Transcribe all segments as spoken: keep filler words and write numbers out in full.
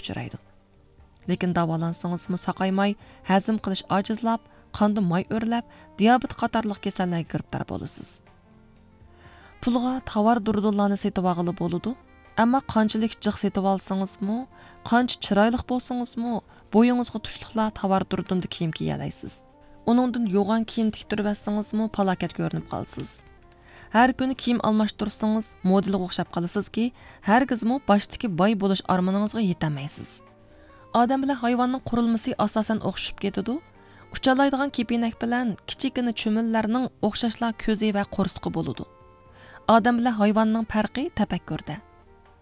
ئۇچرايدۇ. لېكىن داۋالانسىڭىزمۇ ساقايماي، ھەزىم قىلىش ئاجىزلاپ، قاندا ماي ئۆرلەپ، دىيابېت قاتارلىق كېسەللەرگە گىرىپتار بولىسىز. پۇلغا تاۋار دۇردۇنلارنى سېتىۋالغىلى بولىدۇ، ئەمما قانچىلىك جىق سېتىۋالسىڭىزمۇ، قانچە چىرايلىق بولسىڭىزمۇ، بويىڭىزغا تۇشلۇقلا تاۋار دۇردۇندا كىيىم كىيەلەيسىز. ئۇنىڭدىن يوغان كىيىم تىكتۈرۈۋەتسىڭىزمۇ پالاكەت كۆرۈنۈپ قالىسىز. ھەر كۈنى كىيىم ئالماشتۇرسىڭىز مودېلغا ئوخشاپ قالىسىزكى، ھەرگىزمۇ باشتىكى باي بولۇش ئارمىنىڭىزغا يېتەلمەيسىز. ئادەم بىلەن ھايۋاننىڭ قۇرۇلمىسى ئاساسەن ئوخشىشىپ كېتىدۇ. ئۇچالايدىغان كېپىنەك بىلەن كىچىككىنە چۈمۈلىلەرنىڭ ئوخشاشلا كۆزى ۋە قورسىقى بولىدۇ. ئادەم بىلەن ھايۋاننىڭ پەرقى تەپەككۇردە.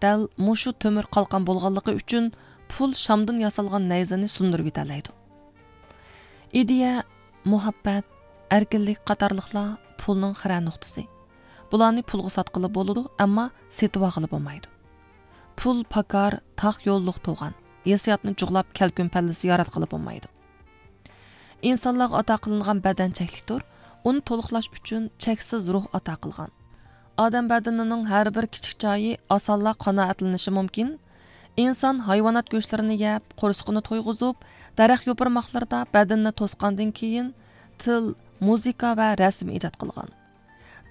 دەل مۇشۇ تۆمۈر قالقان بولغانلىقى ئۈچۈن پۇل شامدىن ياسالغان نەيزىنى سۇندۇرۇۋېتەلەيدۇ. ئىدىيە، مۇھەببەت، ئەركىنلىك قاتارلىقلار پۇلنىڭ خىرە نۇقتىسى. بۇلارنى پۇلغا ساتقىلى بولىدۇ، ئەمما سېتىۋالغىلى بولمايدۇ. پۇل پاكار، تاق يوللۇق تۇغان، ھېسسىياتنى جۇغلاپ كەلكۈن پەللىسى ياراتقىلى بولمايدۇ. ئىنسانلارغا ئاتا قىلىنغان بەدەن چەكلىكتۇر، ئۇنى تولۇقلاش ئۈچۈن چەكسىز روھ ئاتا قىلغان. ئادەم بەدىنىنىڭ ھەر بىر كىچىك جايى ئاسانلا قانائەتلىنىشى مۇمكىن. ئىنسان ھايۋانات گۆشلىرىنى يەپ، قورسىقىنى تويغۇزۇپ، دەرەخ يوپۇرماقلىرىدا بەدىنىنى توسقاندىن كېيىن، تىل، مۇزىكا ۋە رەسىم ئىجاد قىلغان.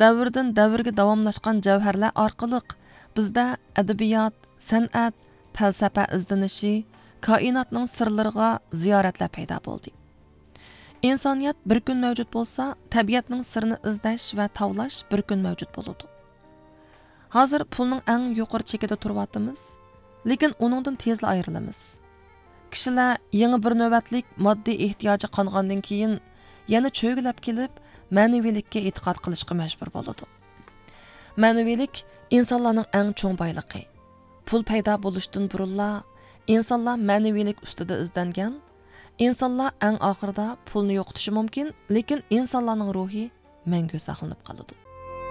دەۋردىن دەۋرگە داۋاملاشقان جەۋھەرلەر ئارقىلىق بىزدە ئەدەبىيات، سەنئەت، پەلسەپە ئىزدىنىشى، كائىناتنىڭ سىرلىرىغا زىيارەتلەر پەيدا بولدى. ئىنسانىيەت بىر كۈن مەۋجۇت بولسا، تەبىئەتنىڭ سىرىنى ئىزدەش ۋە تاۋلاش بىر كۈن مەۋجۇت بولىدۇ. ھازىر پۇلنىڭ ئەڭ يۇقىرى چېكىدە تۇرۇۋاتىمىز، لېكىن ئۇنىڭدىن تېزلا ئايرىلىمىز. كىشىلەر يېڭى بىر نۆۋەتلىك ماددىي ئېھتىياجى قانغاندىن كېيىن، يەنە چۆگىلەپ كېلىپ، مەنىۋىيلىككە ئېتىقاد قىلىشقا مەجبۇر بولىدۇ. مەنىۋىيلىك ئىنسانلارنىڭ ئەڭ چوڭ بايلىقى. پۇل پەيدا بولۇشتىن بۇرۇنلا، ئىنسانلار مەنىۋىيلىك ئۈستىدە ئىزدەنگەن. ئىنسانلار ئەڭ ئاخىرىدا پۇلنى يوقىتىشى مۇمكىن، لېكىن ئىنسانلارنىڭ روھى مەڭگۈ ساقلىنىپ قالىدۇ.